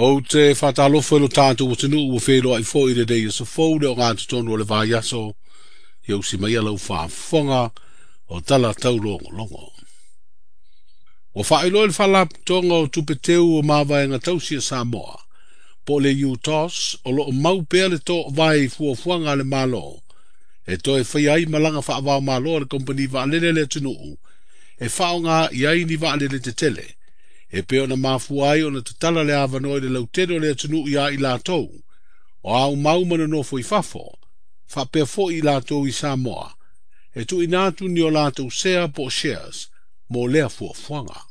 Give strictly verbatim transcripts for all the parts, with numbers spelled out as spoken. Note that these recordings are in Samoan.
Ou te whātalofa i lo tātou atunuu ua wheloai foi le nei aso fou le o ngā totonu o le vaiaso ia usi mai lau faafofoga o tala taulogologo. Ua faailoa i le faalapotopotoga o tupe teu o mavaega tausi a Samoa, po o le U T O S o loo mau pea le toavae i fuafuaga a le Malo, e toe faia ai malaga faava-o-Malo a le kompani vaalele a le atunuu, e faaaoga i ai ni vaalele tetele, e pei ona mafua ai ona tatala le avanoa i le lautele o le atunuu ia i latou, o aumau ma nonofo i fafo, faapea foi i latou i Samoa, e tuuina atu ni o latou sea po o shares mo lea fuafuaga.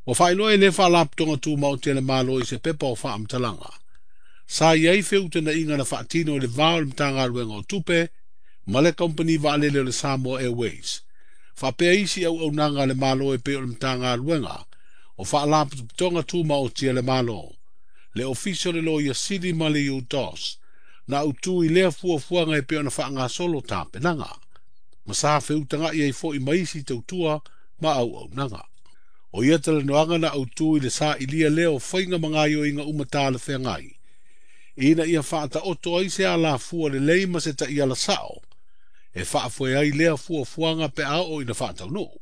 Ua faailoa e lea faalapotopotoga tumaoti a le Malo i se pepa o faamatalaga. Sa i ai feutagaiga na faatino i le va o le Matagaluega o Tupe ma le Kompani Vaalele o le Samoa Airways. Faapea isi auaunaga a le Malo e pei o le Matagaluega o Faalapotopotoga Tumaoti a le Malo, le Ofisa o le Loia Sili ma le U T O S, na autu i lea fuafuaga e pei ona faagasolo tapenaga, ma sa feutagai ai foi ma isi tautua ma auaunaga. O ia talanoaga na autu i le sailia lea o faiga ma gaoioiga uma talafeagai, ina ia faataoto ai se alafua lelei ma se taiala sao, e faafoe ai lea fuafuaga pe a oo ina faataunuu.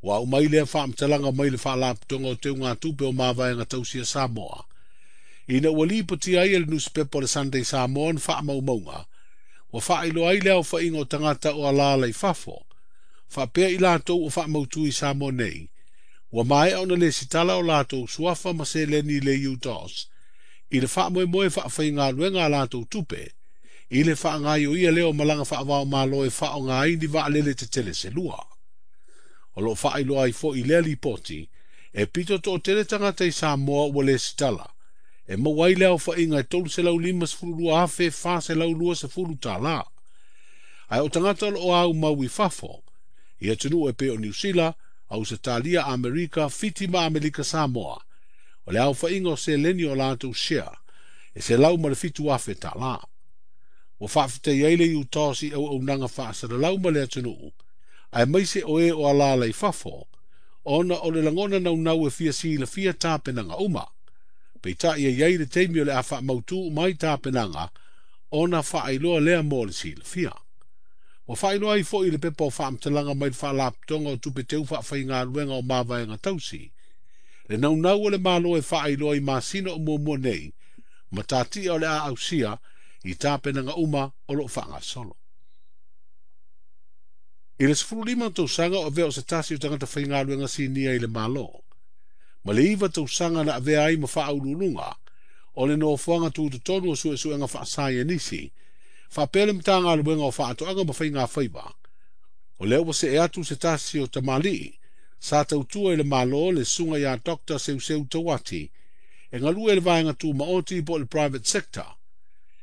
Ua aumai lea faamatalaga mai le faalapotopotoga o teugatupe o mavaega tausi a Samoa, ina ua lipotia ai e le nusipepa o le Sunday Samoan faamaumauga, ua faailoa ai le aofaiga o tagata o alaala i fafo, faapea i latou o faamautu i Samoa nei, ua maea ona lesitala o latou suafa ma seleni i le U T O S, i le faamoemoe faafaigaluega a latou tupe, i le faagaoioia lea o malaga faava-o-Malo e faaaoga ai ni vaalele tetele se lua. O loo faailoa ai foi i lea lipoti, e pito toatele tagata i Samoa ua lesitala, e maua ai le aofaiga e tolu selau limasefulu lua afe fa selau luasefulu tala. Ae o tagata o loo aumau i fafo, i atunuu e pei o Niu Sila, Ausetalia, Amerika, Fiti ma Amerika Samoa, o le aofaiga o seleni o latou share, e selau ma le fitu afe tala. Ua faafetai ai le U T O S i auaunaga faasalalau ma le atunuu, aemaise o e o alaala i fafo, ona o le lagona naunau e fia silafia tapenaga uma. Peitai e i ai le taimi o le a faamautu uma ai tapenaga, ona faailoa lea mo le silafia. Ua faailoa ai foi i le pepa o faamatalaga mai le faalapotopotoga o tupe teu faafaigaluega o mavaega tausi, le naunau o le Malo e faailoa i masina o muamua nei, ma tatia o le a ausia i tapenaga uma o loo faagasolo. I le sefulu lima tausaga o avea o se tasi o tagata faigaluega sinia i le Malo, ma le iva tausaga na avea ai ma faauluuluga o le nofoaga tutotonu o suesuega faasaienisi, faapea le Matagaluega o Faatoaga ma Faiga Faiva. O lea ua see atu se tasi o tamalii, sa tautua i le Malo le susuga ia Doctor Seuseu Tauati, e galue i le vaega tumaoti po o le private sector,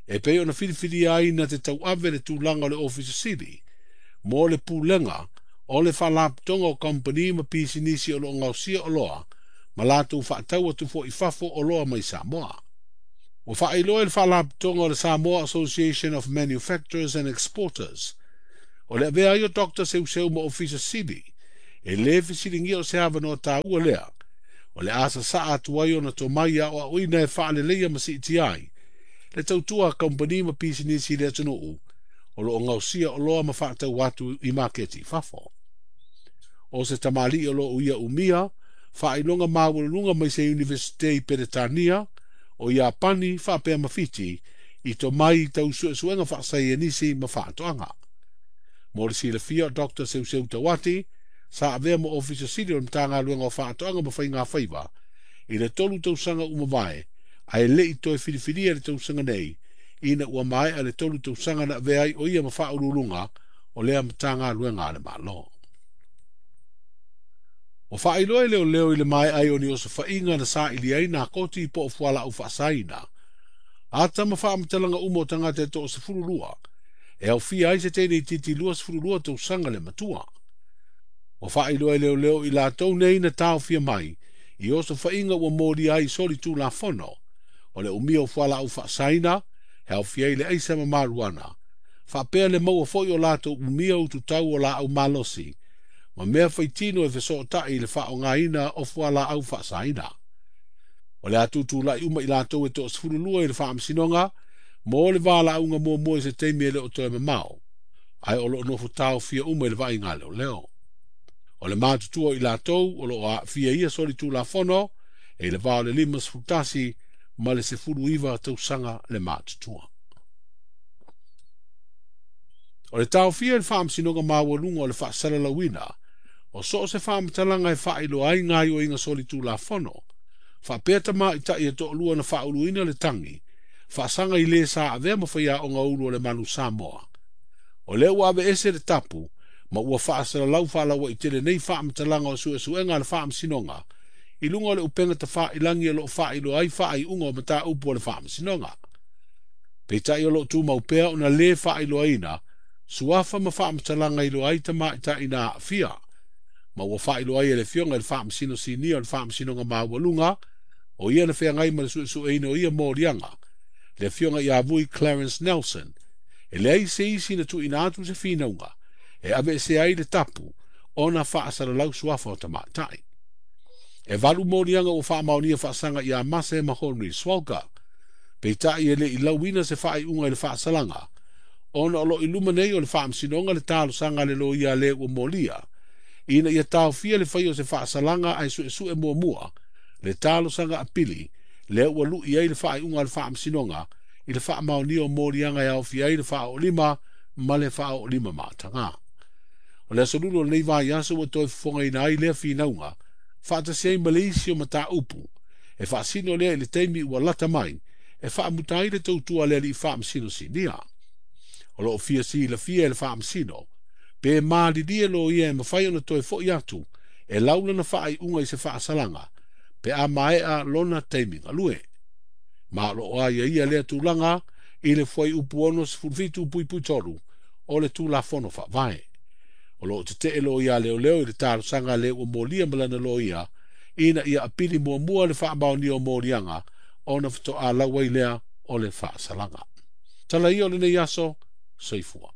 e pei ona filifilia ai na te tauave le tulaga o le Ofisa Sili, mo le pulega o le faalapotopotoga o kompani ma pisinisi o loo gaosia oloa, ma latou faatau atu foi i fafo oloa mai Samoa. Ua faailoa i le faalapotopotoga o le Samoa Association of Manufacturers and Exporters, o le avea ai o Doctor Seuseu ma Ofisa Sili, e lē fesiligia o se avanoa taua lea, o le a sasaa atu ai ona tomai aoaoina e faaleleia ma siitia ai, le tautua a kompani ma pisinisi i le atunuu, o loo gaosia oloa ma faatau atu i maketi i fafo. O se tamalii o loo ia umia, faailoga maualuluga mai se Universite i Peretania, o Iapani faapea ma Fiti, i tomai i tau suesuega faasaienisi ma faatoaga. Mo le silafia o Doctor Seuseu Tauati, sa avea mo Ofisa Sili o le Matagaluega o Faatoaga ma Faiga Faiva, i le tolu tausaga uma vae, ae lei toe filifilia le tausaga nei, ina ua maea le tolu tausaga na avea ai o ia ma faauluuluga o lea Matagaluega a le Malo. Ua faailoa e leoleo i le maea ai o ni osofaiga na saili ai nā koti po o fualaau faasaina, ata ma faamatalaga uma o tagata e toasefulu lua, e aofia ai se teine itiiti luasefulu lua tausaga le matua. Ua faailoa e leoleo i latou nei na taofia mai, i osofaiga ua molia ai soli tulafono, o le umia o fualaau faasaina, e aofia ai le aisa ma maruana, faapea le maua foi o latou umia ututau o laau malosi, ma mea faitino e fesootai i le faaaogaina o fualaau faasaina. O le atutulai uma i latou e toasefululua i le faamasinoga mo le valaauga muamua i se taimi e le o toe mamao, ae o loo nofo taofia uma i le vaaiga leoleo. O le matutua i latou o loo aafia ia solitulafono e le va o le lima sefulu tasi ma le sefulu iva tausaga le matutua. O le taofia i le faamasinoga maualuga o le faasalalauina o so o se faamatalaga e faailoa ai gaoioiga solitulafono, faapea tamaʻitaʻi e toalua na faauluina le tagi faasaga i le sa avea ma faiaoga ulu o le Manu Samoa. O lea ua aveese le tapu ma ua faasalalau faalauaitele nei faamatalaga o suesuega a le faamasinoga i luga o le upega tafailagi o loo faailoa ai faaiuga o mataupu o le faamasinoga. Peitai o loo tumau pea ona lē faailoaina suafa ma faamatalaga iloa ai tamaʻitaʻi na aafia, ma ua faailoa ai e le afioga i le faamasino sinia o le faamasinoga maualuga o ia na feagai ma le suesueina o ia moliaga, le afioga ia Vui Clarence Nelson, e leai se isi na tuuina atu se finauga e aveesea ai le tapu ona faasalalau suafa o tamaʻitaʻi. E valu moliaga ua faamaonia faasaga ia Mase ma Henry Swalka, peitai e leʻi lauina se faaiuga i le faasalaga, ona o loo i luma nei o le faamasinoga le talosaga le loia le ua molia, ina ia taofia le fai o se faasalaga ae suesue muamua le talosaga apili lea ua luʻi ai le faaiuga a le faamasinoga i le faamaonia o moliaga e aofia ai le faaoolima ma le faaoolima mataga. O le aso lulu o lenei vaiaso ua toe fofogaina ai lea finauga faatasi ai ma le isi o mataupu e faasino lea i le taimi ua lata mai e faamuta ai le tautua le alii faamasino sinia. O loo fia silafia e le faamasino pe malilie loia e mafai ona toe foʻi atu e laulana faaiuga i se faasalaga pe a maea lona taimi galue. Ma o loo aiaia lea tulaga i le fuaiupu ono sefulu fitu puipui tolu o le Tulafono Faavae. O loo tetee loia leoleo i le talosaga le ua molia ma lana loia ina ia apili muamua le faamaonia o moliaga ona faatoa lau ai lea o le faasalaga. Tala ia o lenei aso, soifua.